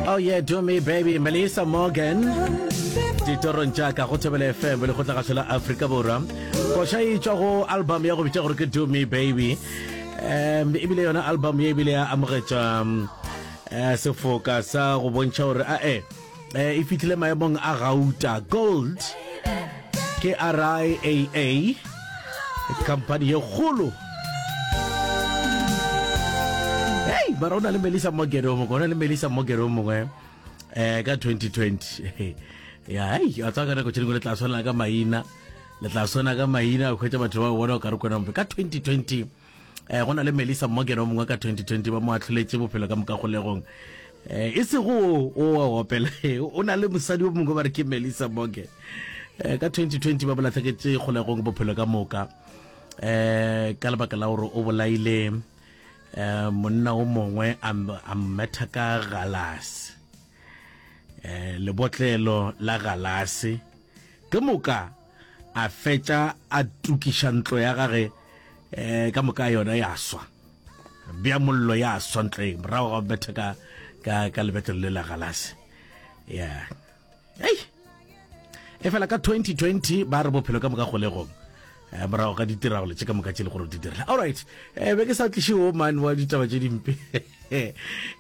Oh yeah, do me baby, Melissa Morgan. Ditorong tša ka go Thobela FM le kgotlagašo la Afrika Borwa. Koša e tšwa go album ya go bitša gore ke Do Me Baby. Um ebile yona album ye ebile ya amogetšwa um, eh, sefoka sa go bontšha gore a e eh, e fihlile maemong a gauta gold ke RIAA company ye kgolo hei mara o na le melissa morgan o mongwe o na le melissa morgan o mongwe um ka 2020 ya hei a tswa ka nako tše dingwe le tla swana ka maina le tla swana ka maina o hwetša batho ba bona o ka re kona mpe ka 2020 um go na le melissa morgan o mongwe ka 2020 ba mo atlholetše bophelo ka moka kgolegong um e sego o wa opela o na le mosadi o mongwe ba re ke melissa morgan um ka 2020 ba mo latlheketše kgolegong bophelo ka moka um ka lebaka la gore o bolaile um monna o mongwe a mmetha ka galase um lebotlelo la galase ke moka a fetša a tukiša ntlo ya gage um ka moka yona ya swa bja mollo ya swa ntlo e morago ga betha ka ka ka lebetlelo le la galase ya ei e fela ka 2020 ba re bophelo ka moka kgolegong eh, morago ga ditiragalo tše ka moka tše le gore di dirile allright eh, be ke sa tliše o man wa ditaba tše dimpe ke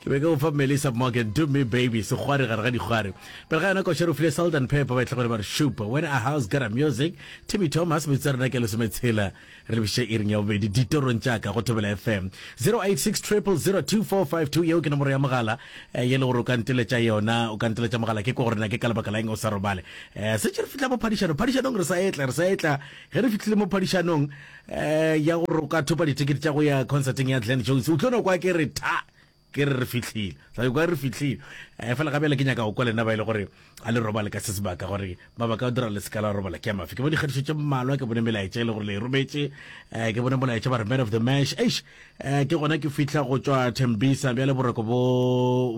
be ke go fa melissa morgan do me baby sekgwari gare ga dikgwari pele ga yona koša re file salt and pepper ba e tlhogore ba re shupa when a house got a music timmy thomas metsotso ya rena ke lesometshela re lebiše iring ya bobedi ditorong tša ka go thobela fm 086 0002452 yeo ke nomoro ya mogala eh, ye le gore o ka nteletša yona o ka nteletša mogala ke ko gore na ke ka lebaka la eng o sa robale um setse re fihla mo phadišanong phadišanong re sa etla re sa etla ge re fihlile mo phadišanong um ya gore o ka thopa ditekete tša go ya concerteng ya Glen Jones o tlo no kwa ke re tha ke re re fihlile tla kwa re fihlile um fela gabjale ke nyaka go kwa lena ba e le gore a le robale ka se sebaka gore mabaka a dira le seka la robala ke a mafe ke bone dikgatišo tše mmalwa ke bone melaetša e le gore le e rometše um ke bone molaetša ba re man of the mash eish um ke gona ke fihla go tšwa thembisa bjale boroko bo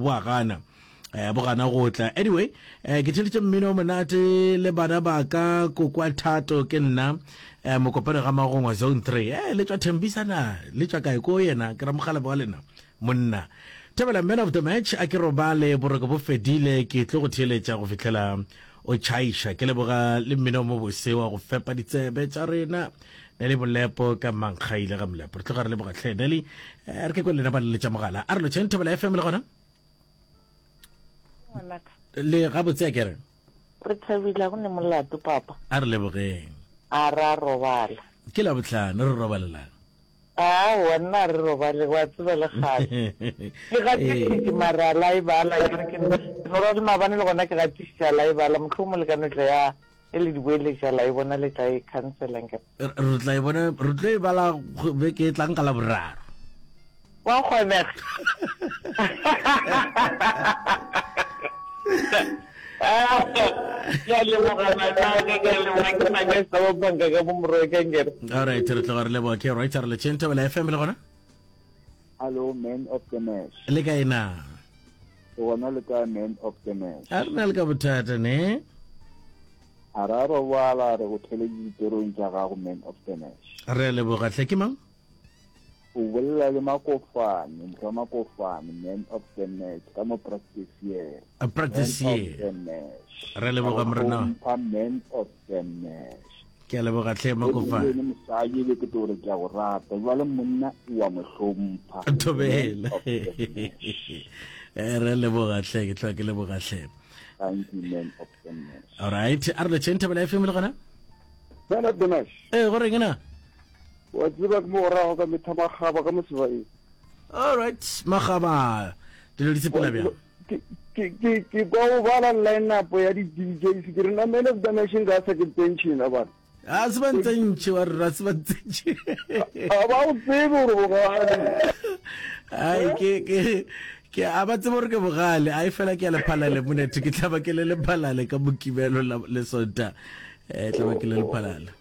bo a gana eh bo gana go tla anyway eh ke theletše mmino o monate le bana ba ka kokwa thato ke nna eh mokopane ga magongwa zone 3 eh le tšwa thembisa na le tšwa kae ko yena ke ramogala wa lena monna thabela man of the match a ke robale boroko bo fedile ke tlo go theeletša go fihlela o tšhaiša ke leboga le mmino mo bose wa go fepa ditsebe tša rena Neli Molepo ka mankgaile ga Molepo re tloga re leboga tlhe Neli eh, re ke kwe lena ba leletša mogala a re lotšheng Thobela FM le gona Ngwanaka. Le gabotse a kere? Re thabile go ne molato papa. A re lebogeng. A ra robala. Ke Labohlano re robalelang. Aowa nna a re robale wa tseba le kgale. Ke gatišitše mara la e bala ke re ke no ra le maabane le gona ke gatišitše a la e bala mohlomongwe le ka no tla ya e le di boeletša la e bona le tla e khansela nkere. Re tla e bona re tlo e bala beke e tlang ka Laboraro. Wa kgonega. Ke a leboga ngwanaka, ke a leboga ke Manesa wa banka ka mo Moroka nkere. All right, re tloga re leboga ke right re le tšheng Thobela FM le gona. Hello man of the match. Le kae na? Gona le kae man of the match. A re na le ka bothata ne? A ra robala re go theletše ditorong tša gago man of the match. Re a leboga hle ke mang? O bolela le Makofane, morwa Makofane, man of the match, ka mo practice year. A practice Man of year. the match. Re leboga morena. Hlompha man of the match. Ke a leboga hle Le Makofane. mosadi be ke tlo re ke a go rata, jwale monna o a mo hlompha. Thobela. Man of the match. Eh, Re leboga hle, ke tloga ke leboga hle. Thank you man of the match. All right, a re lotšheng Thobela FM le gona? Man of the match. Eh, go reng na? Wa tseba ke mo go rago ka metha magaba ka mo sebaeng. All right, magaba. Dilo di sepela bjang? Ke ke ke ke kwa o bala line up ya di DJs ke re na man of the nation ga sa ke pension a bana. A se ba ntsentšhe wa rra se ba ntsentšhe. A ba o tsebe gore bogale. Ai ke ke ke a ba tsebe gore ke bogale ai fela ke ya lephalale monethe ke tla ba ke le lephalale ka mokibelo le sonta eh tla ba ke le lephalale.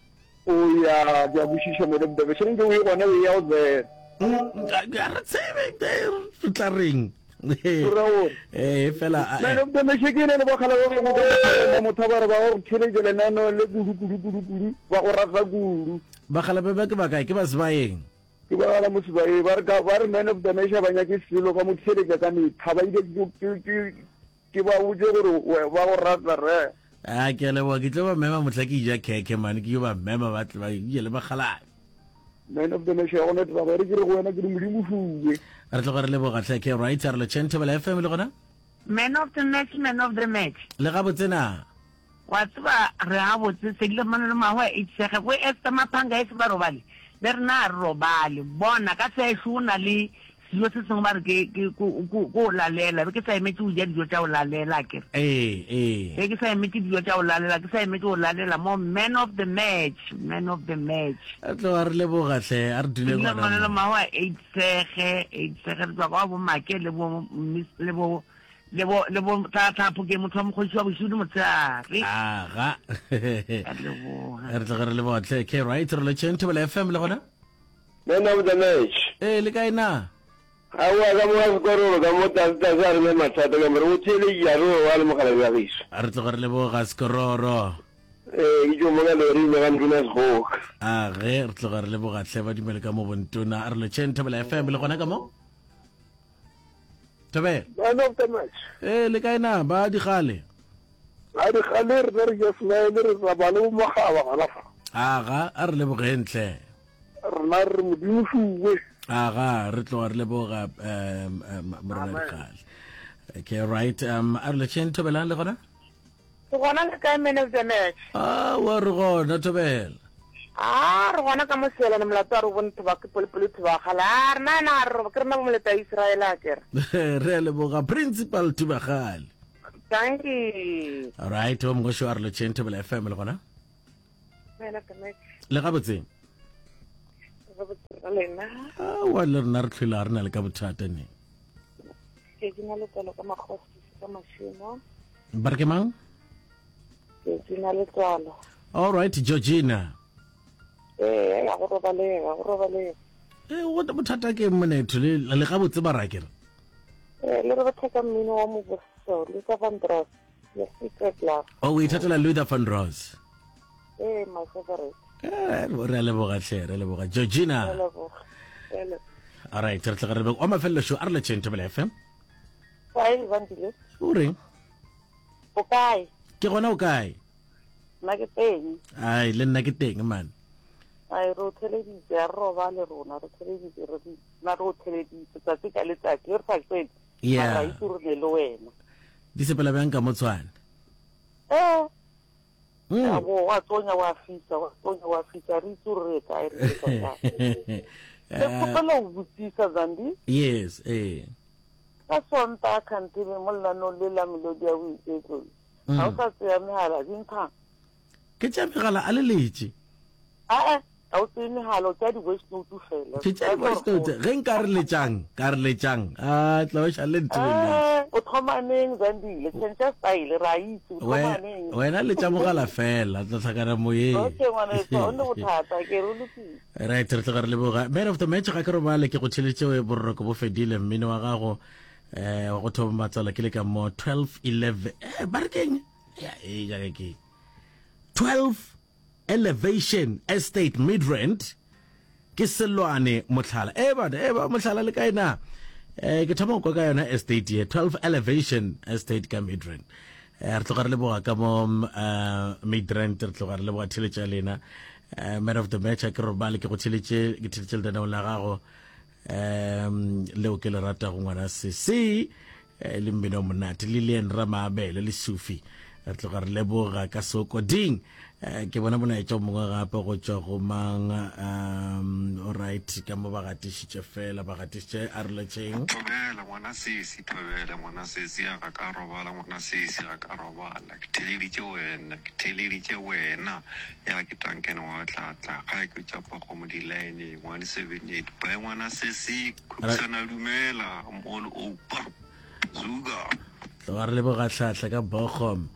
O ya, ke a kwešiša, Madam Dabeshe. Nke o ye gona, o ya o tsena. Ga re tsebe, re tla reng. O ra gore. Eh, fela. Madam Dabeshe, ke ene le bakgala ba bangwe ba motho ba re ba go theletša lenaneo le kudu, kudu, kudu, kudu, ba go rata kudu. Bakgala ba ba ke ba kae? Ke ba Sebaeng. Ke ba gala mo Sebaeng. Ba re ka, ba re Man of Dabeshe ba nyake selo, ba mo theletša ka metlha. Ba ile ke, ke, ke. Ke ba botše gore ba go rata re. A ke a leboga, ke tlo ba mema mohla ke ja khekhe mane, ke yo ba mema ba tle ba je le bakgalabje. Man of the match ya gona taba e re ke re go wena ke re Modimo fuwe. Re tloga re leboga hle ke right a re lotšheng Thobela FM le gona. Man of the match, man of the match. Le gabotse na? Wa tseba re gabotse sedile mano le mahwa e tšhege go Esther Maphanga e se ba robale le rena a re robale bona ka sešo o na le Selo se sengwe ba re ke, ke, ko, ko, ko o lalela. Be ke sa emetše go ja dijo tša go lalela, akere. Ee, ee. Be ke sa emetše dijo tša go lalela, ke sa emetše go lalela mo. Man of the match, man of the match. Re tloga re leboga hle, a re dule gona mo. Manolo Mahoa, Eitshege, Eitshege, re tšwa kwa bo Make le bo, le bo, le bo, le bo Tlatla Phokeng, motho wa mokgoši wa bošego le motshehare. Aga. Re leboga. Re tloga re leboga hle. Okay, right, re lotšheng Thobela FM le gona. Man of the match. Ee, le kae na? Aowa, ka mo ga Sekororo, ka mo tlase tlase a re ne mathata ka mo re o theeletše a re o wa le mogalabi wa gešo. A re tloge re leboga Sekororo. Ee, ke tšo mo ka loring ya ga Ntona Sekgoka. A ge re tloga re leboga hle ba dumele ka mo bontona. A re lotšheng Thobela FM le gona ka mo? Thobela. Man of the match. Ee, le kae na? Ba digale. Ba digale rena re ja smile re tsamaya le bo Mogaba gona fa. Aga, a re lebogeng hle. Rena re re Modimo šuwe. Aga, re tloga re leboga um, um, Morena Dikgale. Okay, right. Um, a re letšheng Thobelang le gona? Re gona le kae man of the match? Ah, wa re gona Thobela. Ah, re gona ka mo Seelane molato a re bone thoba ke polepole thoba gala. Ah, rena ena a re ke rena bo moleta Israel a kere. Re a leboga Principal Thubagale. Thank you. All right, o mongwe a re letšheng Thobela FM le gona? Le gabotse? Aowa le rena re tlhwele ga re na le ka bothata ne. Georgina Letswalo ka Makgosi ka Mašemo. Ba re ke mang? Georgina Letswalo. All right, Georgina. Ee, ya go robalega, go robalega. Ee, go bothata ke monetho le le gabotse ba ra ke re. Ee, le re bothata mmino wa moboso, Luther Vandross, The Secret Love. Oh, o ithatela Luther Vandross. Ee, my favorite. Eh, re a leboga hle, re a leboga. Georgina. Re a leboga. Re a leboga. All right, re tla re wa mafelelo show a re letšeng Thobela FM. Kae Bandile? O reng? O kae? Ke gona o kae? Nna ke teng. Ai, le nna ke teng man. Ai, re o theleditse, a re robale rona, re theleditse, re nna re o theleditse tsatsi ka letsatsi, re sa tsene. Yeah. Mara itse re ne le wena. Di sepela bjang ka motshwane? Eh. Mm. A bo wa tsonya wa fisa, wa tsonya wa fisa, re itse gore re kae re ka kae. Ke kgopela go botsisa Zandi. Yes, eh. Ka Sontaga kgantele mo lenaneong le la Melodi ya Boiketlo. Ga o sa tseya megala, di nthang. Ke tšea megala a le letše. Aa, ga o tseye megala, o tšea di-voice note fela. Ke tšea di-voice note. Ge nka re letšang, ka re letšang. A tla o šale ntebeletše. Eh, o thoma neng Zandile? Change style, re a itse, o thoma neng? Wena letša mogala fela, tla hlakana moyeng. Okay, ngwaneso, ga o ne bothata, ke re o lokile. Right, re tloga re leboga. Man of the match ga ke robale ke go theletše boroko bo fedile mmino wa gago eh wa go thoma matswalo ke le ka mo 12 11 eh ba re keng ya e ja ke 12 Elevation Estate Midrand ke Selwane Mohlala. E bana, e ba Mohlala le kae na? Eh ke thoma go kwa ka yona estate ye 12 Elevation Estate ka Midrand. Eh re tloga re leboga ka mo eh Midrand re tloga re leboga theletše ya lena. Eh man of the match a ke robale ke go theletše ke theletše lenaneo la gago um leo ke le ratago ngwana sese eh, le mmino monate lilian ramaabele le sufi re tloga re leboga ka sokoding eh, ke bona molaetša o mongwe gape go tšwa go mang um alright ka mo ba gatišitše fela ba gatišitše a re letšeng Thobela ngwana sesi, thobela ngwana sesi, a ga ka robala ngwana sesi, ga ka robala. Ke theleditše wena, ke theleditše wena. Ya ke Duncan wa Tlatla, gae ke tšapa kgomo di-line, 178. Bye ngwana sesi, Khupsana dumela, I'm all over. Zuga. Tloga re leboga hlahla ka Bochum.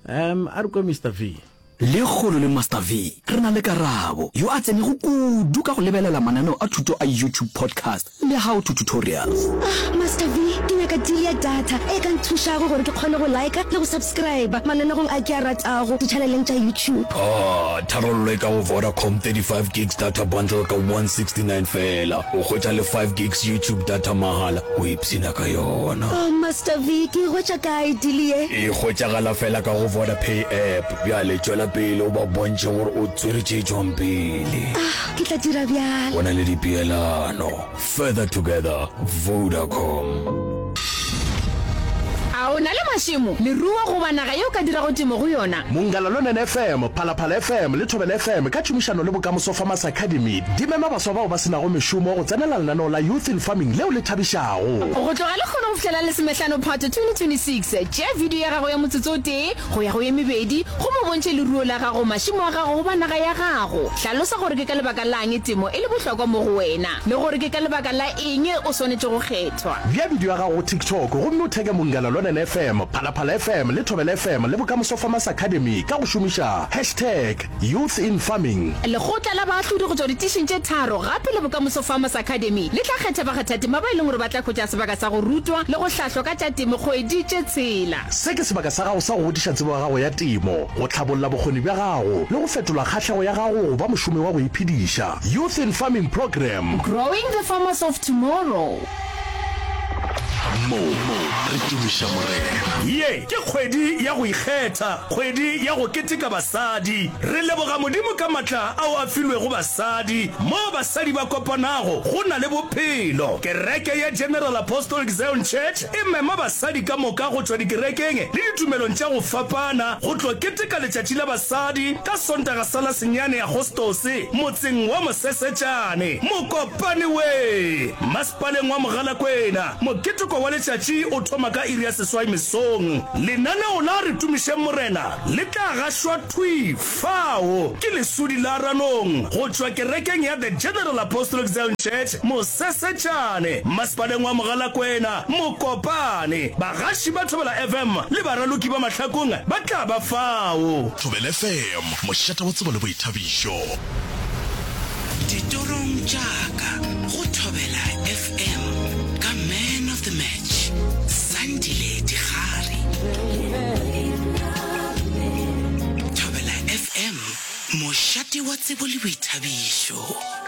Um a re kwe Mister V. Lekgono le Master V re na le Karabo, yo a tsenego kudu ka go lebelela mananeo a thuto a YouTube podcast le how to tutorials. Ah, Master V, ke nyaka. nyaka deal ya data e ka nthušago gore ke kgone go liker le go subscriber mananegong a ke a ratago ditšhaneleng tša YouTube. Ah, tharollo e ka go Vodacom 35 gigs data bundle ka 169 feela. O hwetša le 5 gigs YouTube data mahala, o ipshina ka yona. Oh Master V, ke e hwetša kae deal ye? E hwetšagala feela ka go Vodapay app. Bjale tšwela pele o ba bontšhe gore o tswere tše tšwang pele. Ah, ke tla dira bjalo. Go na le dipeelano. Further together, Vodacom. A o na le mašemo, leruo goba naga ye o ka dirago temo go yona? Mongala Lonene FM, Phalaphala FM le Thobela FM ka tšhomišano le Bokamoso Farmers Academy di mema baswa bao ba se nago mešomo go tsenela lenaneo la Youth in Farming leo le thabišago. Go tloga lehono go fihlela Lesomehlano Phato 2026, tšea video ya gago ya motsotso o tee go ya go ye mebedi gomme o bontšhe leruo la gago, mašemo a gago goba naga ya gago. Hlalosa gore ke ka lebaka la'ng temo e le bohlokwa mo go wena le gore ke ka lebaka la eng o swanetše go kgethwa. Bea bidio ya gago go TikTok gomme o theke Munghana Lonene FM, Phalaphala FM le Thobela FM le Bokamoso Farmers Academy ka go šomiša hashtag YouthInFarming. Lekgotla la baahlodi go tšwa ditišing tše tharo gape le Bokamoso Farmers Academy le tla kgetha bakgathatema ba e leng gore ba tla hwetša sebaka sa go rutwa le go hlahlwa ka tša temo kgwedi tše tshela. Se ke sebaka sa gago sa go godiša tsebo ya gago ya temo, go hlabolla bokgoni bja gago le go fetola kgahlego ya gago go ba mošomi wa go iphediša. Youth in Farming Programme. Growing the farmers of tomorrow. Mo re tumiša Morena. Ye ke kgwedi ya go ikgetha, kgwedi ya go keteka basadi. Re leboga Modimo ka matla ao a filwego basadi. Moo basadi ba kopanago, go na le bophelo. Kereke ya General Apostolic Zion Church e mema basadi ka moka go tšwa dikerekeng le ditumelong tša go fapana go tlo keteka Letšatši la Basadi ka Sontaga sa la senyane Agostose motseng wa Mosesetšane, Mokopane we, masepaleng wa Mogalakwena. Moketeko wa letšatši o thoma ka iri ya seswai mesong. Lenaneo la Re Tumišeng Morena le tla gašwa thwi fao ke Lesodi la Ranong go tšwa kerekeng ya The General Apostolic Zion Church, Mosesetšane, masepaleng wa Mogalakwena, Mokopane. Bagaši ba Thobela FM le baraloki ba Mahlakong ba tla ba fao. Thobela FM, mošate wa tsebo le boithabišo. Ditorong tša ka go Thobela FM ka Man of the Match, Sandile Digari. Thobela FM, mošate wa tsebo le boithabišo.